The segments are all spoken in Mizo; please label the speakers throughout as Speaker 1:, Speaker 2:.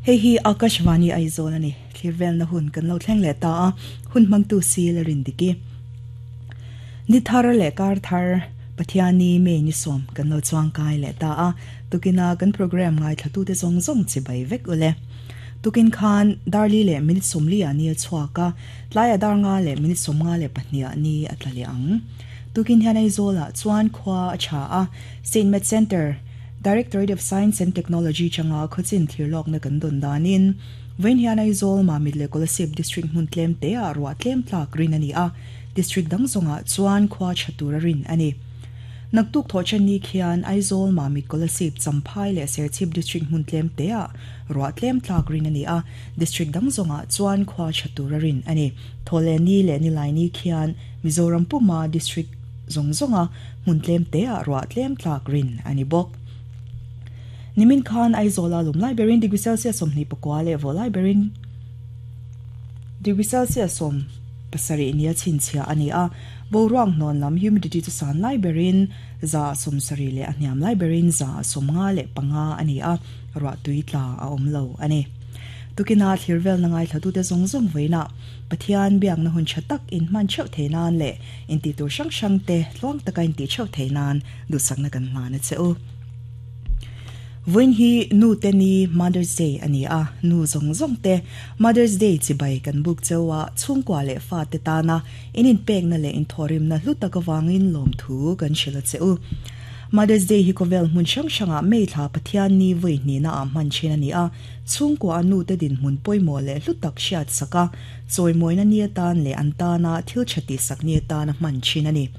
Speaker 1: Hei hi Akashvani Aizawl a ni. Thlir velna hun kan lo thleng leh ta a, hun hmangtu si la rin dik i. Ni thar leh kar thar Pathiani May ni sawm kan lo chuangkai leh ta a, tukina kan programme ngaithlatute zawng zawng chibai vek ule. Tukin khan Darli leh minute 40 ah ni a chhuak a, tlaiah dar nga leh minute 52 ah ni a tla leh ang. Tukin hian Aizawlah chuan khua a tha a, Saint Matt Centre, Directorate of Science and Technology changa khawchin thirlawkna kan dawn danin, vawiin hian Aizawl, Mamit leh Kolasib District hmun tlem teah ruah tlem tlak rin a ni a, District dang zawngah chuan khua tha tura rin a ni. Naktuk thawhchen ni khian Aizawl, Mamit, Kolasib, Champhai leh Serchhip District hmun tlem teah ruah tlem tlak rin a ni a, District dang zawngah chuan khua tha tura rin a ni. Thawhleh ni leh Nilai ni khian Mizoram puma District zawng zawnga hmun tlem teah ruah tlem tlak rin a ni bawk. Nimin khan Aizawla lum lai berin degree Celsius 29 leh vaw lai berin degree Celsius 70 nia chhinchhiah a ni a. Boruak hnawn lam humidity chu san lai berin 70 leh a hniam lai berin 55 a ni a, ruah tui tla a awm lo a ni. Tukina thlir velna ngaithlatute zawng zawng vawiinah Pathian biakna hun tha tak inhman theuh thei nan leh Intih tur hrang hrang te tluang taka intih theuh theih nan duhsakna kan hlan a che u. Vawiin hi Nu te ni Mother's Day a ni a, nu zawng zawng te Mother's Day chibai kan buk cheu a, chhungkua leh fa te tana in inpekna leh inthawhrimna hlu tak avangin lawmthu kan hrilh a che u. Mother's Day hi khawvel hmun hrang hrangah May thla Pathian ni vawi hnihna ah hman thin a ni a, chhungkua a nu te dinhmun pawimawh leh hlu tak hriat sak a, Chawimawina ni atan leh an tana thil tha tihsak ni atana hman thin a ni.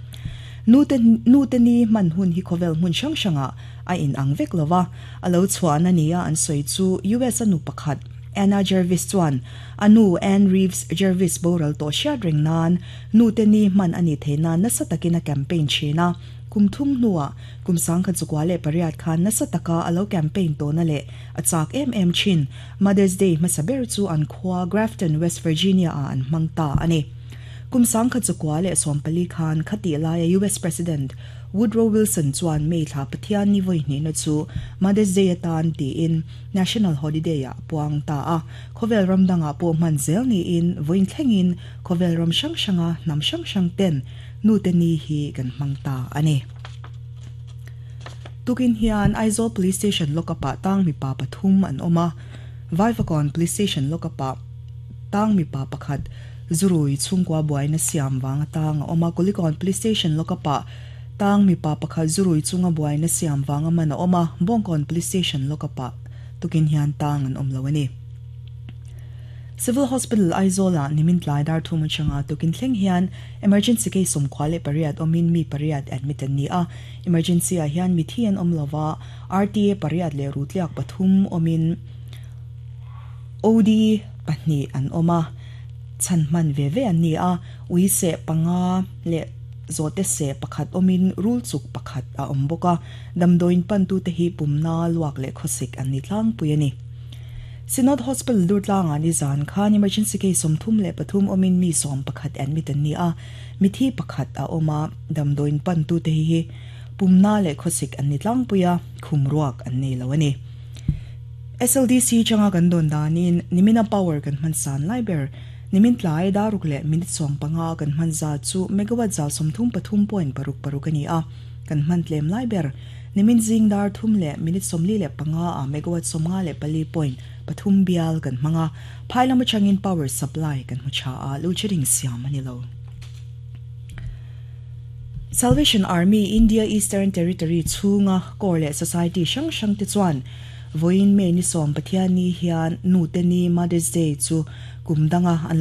Speaker 1: Nute nute ni hman hun hi khawvel hmun hrang hrangah a inang vek lo va, a lo chhuahna nia an sawi chu US a nu pakhat Anna Jarvis chuan a nu Ann Reeves Jarvis boral tawh hriat reng nan nute ni hman a nih theih nan nasa takin a campaign thin a. Kum thum hnuah kum 1908 khan nasa taka a lo campaign tawhna leh a chak em em thin. Mother's Day hmasa ber chu an khua Grafton, West Virginia ah an hmang ta a ni. Kum 1914 khan khatih laia US President Woodrow Wilson chuan May thla Pathian ni vawi hnihna chu Mother's Day atan tiin National Holiday ah a puang ta a. Khawvel ram dangah pawh hman zel niin vawiin thlengin khawvel ram hrang hranga hnam hrang hrang ten nute ni hi kan hmang ta a ni. Tukin hian Aizawl Police Station lockup-ah tang mipa pathum an awm a, Vaivakawn Police Station lockup-ah tang mipa pakhat zurui chhungkua buaina siam vanga tang a awm a, Kulikawn Police Station lockup-ah tang mipa pakhat zurui chunga buaina siam vanga man a awm a, Bawngkawn Police Station lockup-ah tukin hian tang an awm lo a ni. Civil Hospital Aizawl-ah nimin tlai dar thum atanga tukin thleng hian Emergency case 98 awmin mi pariat admit an ni a, Emergency ah hian mithi an awm lova, RTA pariat leh rutliak pathum awmin OD pahnih an awm a, chhan hman ve ve an ni a, ui seh panga leh zawhte seh pakhat awmin rul chuk pakhat a awm bawk a, damdawiin pantute hi pumna luak leh khawsik an ni tlangpui a ni. Synod Hospital Durtlangah nizan khan emergency case 33 awmin mi 11 admit an ni a, mithi pakhat a awm a, damdawiin pantute hi hi pumna leh khawsik an ni tlangpui a, khum ruak an nei lo a ni. SLDC changa kan dawn danin nimina power kan hman san lai ber, nimin tlai daruk leh minute 15 kan hman zat chu megawatt za 33.66 a ni a, kan hman tlem lai ber, Nimin zing dar thum leh minute 45 ah megawatt 54.3 bial kan hmang a, phai lam atangin power supply kan hmu tha a, load shedding siam a ni lo. Salvation Army India Eastern Territory chhunga Corps leh Society hrang hrang te chuan vawiin May ni sawm Pathianni hian Nute Ni, Mother's Day, chu kum danga an.